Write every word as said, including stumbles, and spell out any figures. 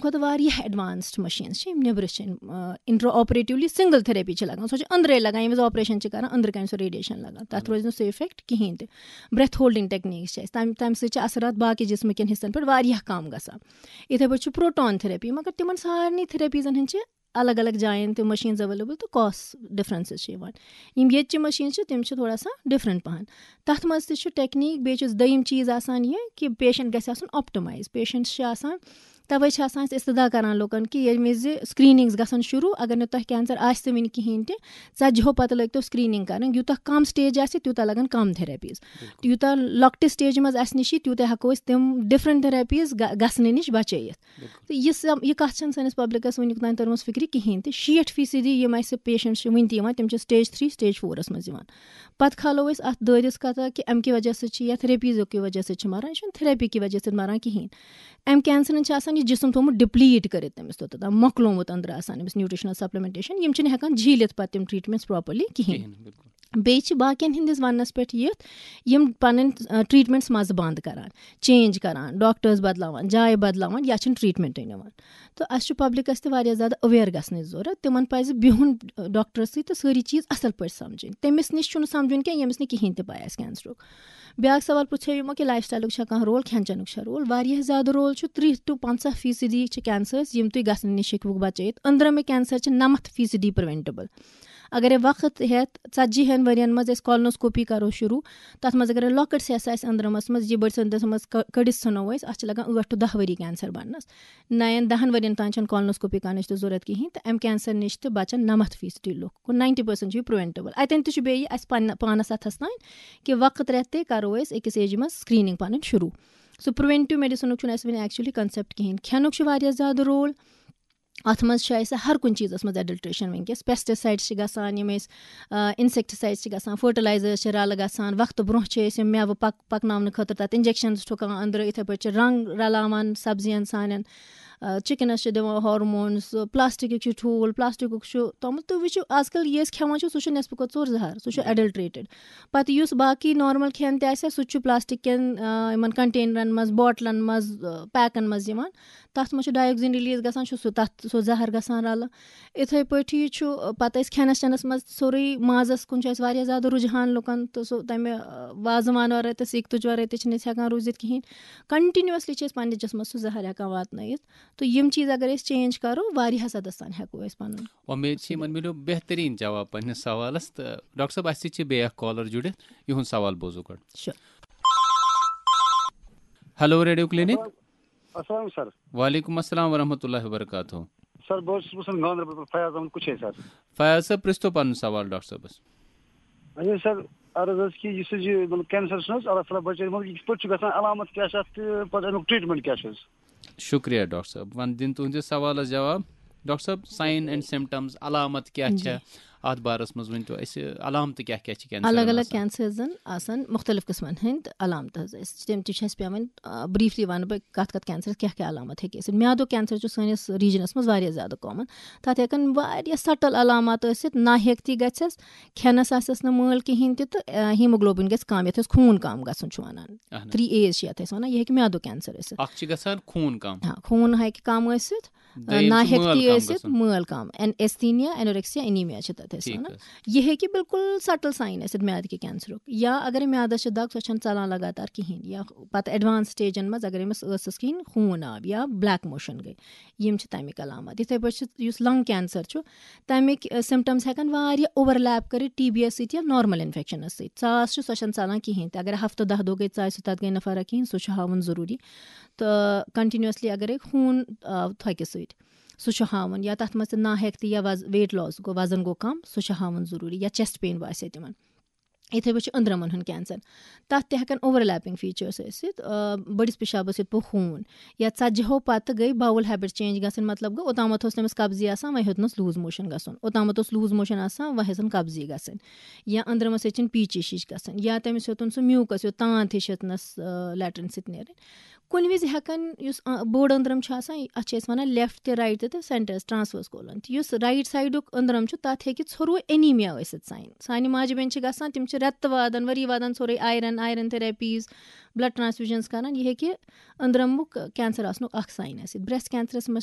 کھۄتہٕ واریاہ ایڈوانسڈ مشیٖنز چھِ، یِم نیٚبرٕ چھِ، اِنٹرا آپریٹولی سنگل تھیرپی چھِ لگان، سۄ چھِ أنٛدرے لگان، ییٚمہِ وِزِ آپریشن چھِ کران، أنٛدرٕ کَنہِ سۄ ریڈیشن لگان، تَتھ روزِ نہٕ سُہ اِفیکٹ کِہینۍ تہِ۔ برٛیتھ ہولڈنگ ٹیکنیکس چھِ اَسہِ، تَمہِ تَمہِ سۭتۍ چھِ اثرات باقی جسمہٕ کٮ۪ن حصن پٮ۪ٹھ واریاہ کم گژھان۔ یِتھے پٲٹھۍ چھُ پروٹون تھیرپی، مگر تِمن سارنٕے تھیرپیزن ہٕنٛز چھِ الگ الگ جاین تہِ مشیٖنز ایویلیبل تہٕ کاسٹ ڈفرنسز چھِ یِوان۔ یِم ییٚتہِ چہِ مشیٖنز چھِ، تِم چھِ تھوڑا سا ڈفرنٹ پہن۔ تَتھ منٛز تہِ چھُ ٹیکنیک، بیٚیہِ چھُ دوٚیِم چیٖز آسان یہِ کہِ پیشنٹ گژھِ آسُن آپٹمایز۔ پیشنٹس چھِ آسان، توے چھِ آسان أسۍ استدعا کران لُکن کہِ ییٚمہِ وِزِ سکریننگز گژھن شروع، اگر نہٕ تۄہہِ کینسر آسہِ تہِ وٕنہِ کِہینۍ تہِ، ژتجی ہو پتہٕ لٲگۍ تو سکریننگ کرٕنۍ۔ یوٗتاہ کم سٹیج آسہِ، تیوٗتاہ لگن کم تھیرپیز۔ یوٗتاہ لۄکٹہِ سٹیجہِ منٛز اسہِ نِش یی، تیوٗتاہ ہٮ۪کو أسۍ تِم ڈفرنٹ تھیرپیز گژھنہٕ نِش بچٲیِتھ۔ تہٕ یہِ سم-، یہِ کتھ چھنہٕ سٲنِس پبلکس وٕنیُک تام تٔرمٕژ فکرِ کِہینۍ تہِ۔ شیٹھ فیصدی یِم اسہِ پیشنٹ چھِ وٕنہِ تہِ یِوان، تِم چھِ سٹیج تھری، سٹیج فورس منٛز یِوان۔ پتہٕ کھالو أسۍ اتھ دٲرِس کتھ کہِ امہِ کہِ وجہ سۭتۍ چھِ یا تھیرپیزو کہِ وجہ سۭتۍ چھِ مران، یہِ چھُنہٕ تھیرپی کہِ وجہ سۭتۍ مران کِہینۍ۔ امہِ کینسرن چھِ آسان یہِ جسم تھوٚومُت ڈپلیٹ کٔرِتھ، تٔمِس توٚتتھ تام مۄکلومُت أنٛدرٕ آسان أمِس نیوٗٹریشنل سپلمنٹیشن، یِم چھِنہٕ ہٮ۪کان جھیٖلِتھ پتہٕ تِم ٹریٹمنٹس پراپرلی کِہینۍ۔ کِہینۍ، بِلکُل۔ بیٚیہِ چھِ باقین ہٕنٛدِس وننس پٮ۪ٹھ یِتھ، یِم پنٕنۍ، آ، ٹریٹمنٹس منٛزٕ بند کران، چینج کران، ڈاکٹرس بدلاوان، جایہِ بدلاوان یا چھِنہٕ ٹریٹمنٹٕے نِوان۔ تہٕ اَسہِ چھُ پبلکس تہِ واریاہ زیادٕ اویئر گژھنٕچ ضروٗرت۔ تِمن پزِ بِہُن، آ، ڈاکٹرس سۭتۍ تہٕ سٲری چیٖز اصل پٲٹھۍ سمجھٕنۍ۔ تٔمِس نِش چھُنہٕ سمجھُن کینٛہہ، ییٚمِس نہٕ کِہینۍ تہِ پاے آسہِ کینسرُک۔ بیٛاکھ سوال پرٛژھیو یِمو کہِ لایف سٹایلُک چھا کانٛہہ رول، کھٮ۪ن چٮ۪نُک چھا رول؟ واریاہ زیادٕ رول چھُ۔ ترٕٛہ to پنٛژاہ فیصدی چھِ کینسرز، یِم تُہۍ گژھنہٕ نِش ہیٚکِوُکھ بچٲیِتھ۔ أنٛدرمہٕ کینسر چھِ نَمَتھ فیصدی پرٛوینٹیبل۔ اگر وقت ہٮ۪تھ ژتجی ہن ؤرین منٛز أسۍ کولنوسکوپی کرو شروع، تتھ منٛز اگر لۄکٕٹ سیٚس آسہِ أنٛدرمس منٛز، یہِ بٔڑ سندس منٛز ک-، کٔڑِتھ ژھٕنو أسۍ، اتھ چھِ لگان ٲٹھ to دَہ ؤری کینسر بننس۔ نَین دَہن ؤرین تام چھنہٕ کولنوسکوپی کرنٕچ تہِ ضروٗرت کِہینۍ، تہٕ امہِ کینسر نِش تہِ بچن نَمَتھ فیصدی لُکھ، گوٚو ناینٹی پرسنٹ چھُ یہِ پرٛوینٹیبل۔ اتٮ۪ن تہِ چھُ بیٚیہِ اسہِ پننہِ پانس اتھس تام کہِ وقت رٮ۪تھ تہِ کرو أسۍ أکِس ایجہِ منٛز سکریننگ پنٕنۍ شروع۔ سُہ پرٛوینٹیو میڈیسنُک چھُنہٕ اسہِ وُنہِ actually concept کِہینۍ۔ کھٮ۪نُک چھُ واریاہ زیادٕ رول۔ اتھ منٛز چھُ اسہِ ہر کُنہِ چیٖزس منٛز ایڈلٹریشن وٕنکیٚس۔ پیسٹیسایڈس چھِ گژھان، یِم أسۍ، آ، انسیکٹیسایڈس چھِ گژھان، فرٹیلایزرس چھِ رلہٕ گژھان، وقتہٕ برونٛہہ چھِ أسۍ یِم مٮ۪وٕ پک-، پکناونہٕ خٲطرٕ تتھ انجیکشنز ٹھُکان أنٛدرٕ، یِتھے پٲٹھۍ چھِ رنٛگ رلاوان سبزین سانٮ۪ن، آ، چکنس چھِ دِوان ہارمونز، پلاسٹکٕکۍ چھِ ٹھوٗل، پلاسٹکُک چھُ توٚمُل۔ تُہۍ وٕچھِو، آز کل یہِ أسۍ کھٮ۪وان چھِ، سُہ چھُ نٮ۪صفہٕ کھۄتہٕ ژوٚر زہر، سُہ چھُ بِلکُل۔ ایڈلٹریٹڈ۔ پتہٕ یُس باقٕے نارمل کھٮ۪ن تہِ آسہِ، سُہ تہِ چھُ پلاسٹک کٮ۪ن، آ، یِمن کنٹینرن منٛز، بوٹلن منٛز، آ، پیکن منٛز یِوان۔ تَتھ منٛز چھُ ڈایوکسین ریلیز گژھان، چھُ سُہ تَتھ سُہ زَہر گژھان رَلہٕ۔ یِتھَے پٲٹھی چھُ، آ، پَتہٕ أسۍ کھٮ۪نَس چٮ۪نَس منٛز سورُے مازَس کُن چھُ اَسہِ واریاہ زیادٕ رُجحان لُکَن، تہٕ سُہ تَمہِ، آ، وازوان وَرٲے تہٕ سِکھ تُج وَرٲے تہِ چھِنہٕ أسۍ ہٮ۪کان روٗزِتھ کِہیٖنۍ۔ کَنٹِنیوٗسلی چھِ أسۍ پنٛنِس جِسمَس سُہ زَہر ہٮ۪کان واتنٲیِتھ۔ تہٕ یِم چیٖز اگر أسۍ چینج کَرو، واریاہَس حدَس تام ہٮ۪کو أسۍ پَنُن۔ وۄمید چھِ یِمَن مِلیو بہتریٖن جواب پنٛنِس سوالَس۔ تہٕ ڈاکٹر صٲب، اَسہِ سۭتۍ چھِ بیٚیہِ اَکھ کالَر جُڑِتھ، یِہُنٛد سوال بوزو گۄڈٕ۔ شُکریہ۔ Hello, radio clinic. السلام سر۔ وعلیکم السلام ورحمۃ اللہ وبرکاتہ۔ سر، بہٕ حظ چھُس وَسان گاندربل پٮ۪ٹھ، فیاض احمد کُچھے سر۔ فیاض صٲب، پرٛژھتو پنُن سوال ڈاکٹر صٲبس۔ اچھا سر، عرض ٲس کہِ یُس حظ یہِ، مطلب، کینسر چھُنہٕ حظ، اللہ تعالیٰ بچٲیِن، مطلب، یہِ کِتھ پٲٹھۍ چھُ گژھان، علامت کیٛاہ چھِ اَتھ تہٕ پتہٕ اَمیُک ٹریٖٹمنٹ کیٛاہ چھُ حظ؟ شُکریہ ڈاکٹر صٲب، وۄنۍ دِن تُہنٛدِس سوالس جواب۔ ڈاکٹر صٲب، ساین اینڈ سمپٹمز، علامت کیٛاہ جی۔ چھےٚ؟ اَتھ بارس منٛز ؤنۍ تو اَسہِ، علامتہٕ کیٛاہ کیٛاہ چھِ کینسرن الگ الگ آسان؟ کینسرزن آسان مختلف قٕسمن ہٕنٛدۍ علامتہٕ حظ۔ أسۍ تِم تہِ چھِ اَسہِ پٮ۪وان، آ، briefly وَنہٕ بہٕ کَتھ کَتھ کینسرس کیٛاہ کیٛاہ علامت ہیٚکہِ ٲسِتھ۔ میادُک کینسر چھُ سٲنِس ریجنس منٛز واریاہ زیادٕ common۔ تَتھ ہٮ۪کن واریاہ subtle علامات ٲسِتھ، ناہیٚکتی گژھٮ۪س، کھٮ۪نس آسٮ۪س نہٕ مٲل کِہینۍ تہِ، تہٕ، آ، hemoglobin گژھِ کم، یَتھ أسۍ خوٗن کم گژھُن چھِ وَنان۔ اہن حظ۔ تھری ایز چھِ یَتھ أسۍ وَنان، یہِ ہیٚکہِ میادُک کینسر ٲسِتھ۔ اَکھ چھِ گژھان خوٗن کم۔ ہاں، خوٗن ہیٚکہِ کم ٲسِتھ، دوٚیِم چھُ ناہیٚکتی مٲل کم ٲسِتھ، گژھُن۔ مٲل کم، ایستھینیا، اینوریکسیا، انیمیا چھِ تَتھ أسۍ ٹھیٖک وَنان۔ حظ۔ یہِ ہیٚکہِ بالکل subtle sign ٲسِتھ میادٕ کہِ کینسرُک، یا اگرے میادس چھِ دگ، سۄ چھَنہٕ ژَلان لگاتار کِہینۍ، یا پتہٕ advance stageن منٛز اگرے أمِس ٲسَس کِہینۍ، خوٗن آو یا black motion گٔے، یِم چھِ تَمِکۍ علامات۔ یِتھے پٲٹھۍ چھِ یُس lung cancer چھُ، تَمِکۍ، ٲ، symptoms ہٮ۪کن واریاہ overlap کٔرِتھ ٹی بی یَس سۭتۍ یا نارمل انفیکشنس سۭتۍ۔ ژاس چھِ، سۄ چھَنہٕ ژَلان کِہینۍ تہِ، اگر ہفتہٕ دَہ دۄہ گٔے ژاسہِ، تَتھ گٔے نہٕ فرق کِہینۍ، سُہ چھُ ہاوُن ضروٗری۔ تہٕ continuously اگرے خوٗن آو تھۄکہِ سۭتۍ، سُہ چھُ ہاوُن، یا تَتھ منٛز تہِ ناہیٚکتی یا وز-، weight loss گوٚو، وزن گوٚو کم، سُہ چھُ ہاوُن ضروٗری، یا chest pain باسہِ تِمن۔ یِتھے پٲٹھۍ چھُ أنٛدرمن ہُنٛد کینسر، تَتھ تہِ ہٮ۪کن overlapping features ٲسِتھ، آ، بٔڑِس پِشابس سۭتۍ پوٚو خوٗن، یا ژتجی ہو پتہٕ گٔے bowel habit change گژھٕنۍ، مطلب گوٚو، اوٚتامتھ اوس تٔمِس قبضی آسان، وۄنۍ ہیوٚتنس loose motion گژھُن، اوٚتامتھ اوس loose motion آسان، وۄنۍ ہیٚژن قبضی گژھٕنۍ، یا أنٛدرمس ہیٚژٕن پیٖچِش ہِش گژھٕنۍ، یا تٔمِس ہیوٚتُن سُہ mucus ہیوٚت، تانٛت ہِش ہیٚژنس، آ، latrine سۭتۍ نیرٕنۍ۔ کُنہِ وِزِ ہٮ۪کن یُس، آ، بوٚڑ أنٛدرم چھُ آسان، اتھ چھِ أسۍ ونان left تہٕ right تہٕ centers transverse colon۔ تہٕ یُس right sideُک أنٛدرم چھُ، تتھ ہیٚکہِ ژھوٚروے انیمیا ٲسِتھ sign۔ سانہِ ماجہِ بیٚنہِ چھِ گژھان، تِم چھِ رٮ۪تہٕ وادن، ؤری وادن ژھوٚرُے iron، iron therapies، blood transfusions کران۔ یہِ ہیٚکہِ أنٛدرمُک کینسر آسنُک اکھ sign ٲسِتھ۔ Breast cancerس منٛز